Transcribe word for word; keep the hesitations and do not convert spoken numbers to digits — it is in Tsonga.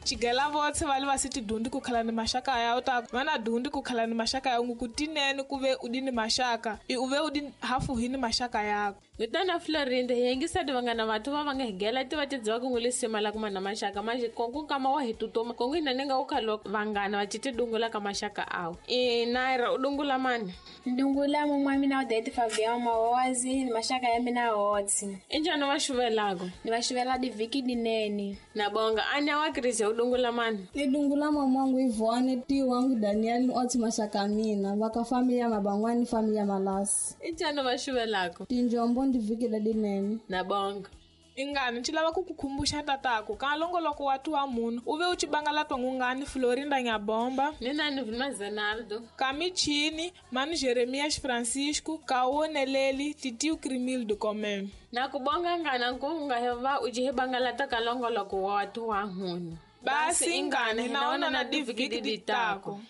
Chigela votse va le va si tidundi ku khala ni maxaka ya ta va na dundi ku khala ni maxaka ya ku tinene ku ve u di ni maxaka i u ve u di hafu hi ni maxaka yako. Vitana Florinda hi yingisa vanghana vathu va va nga higela ti va ti dziva ku n'wi lisima la kuma na maxaka manje konku nkama wa hi tutuma konku hina ni nga u khalo vanghana va citi dungula ka maxaka awu i Naira u dungula mani ndungula mumwe wa mina Odete Fabian Mawazi ni maxaka ya mina hotsi i njhani va xuvelako ni va xuvela divhiki dinene na bonga anya wa Chris u dungula mani ni dungula mamangu Ivone ti wangu Daniel ni otsi maxaka ya mina va ka familia Mabangwani familia Malasi i njhani va xuvelako tinjombo ndivhiki ledinene na bonga ingani nci lava ku ku khumbuxa tatako ka longoloko wa tuwa munhu u ve u ci bangala twangungani Florinda Nyabomba ni nani Vilma Zenaldo Kamichini mani Jeremias Francisco Kaoneleli Titiu Crimildo Comem na ku bonga ngana nku nga heva u ci bangalata ka longoloko wa tuwa munhu basi ingani naona na divhiki ditako.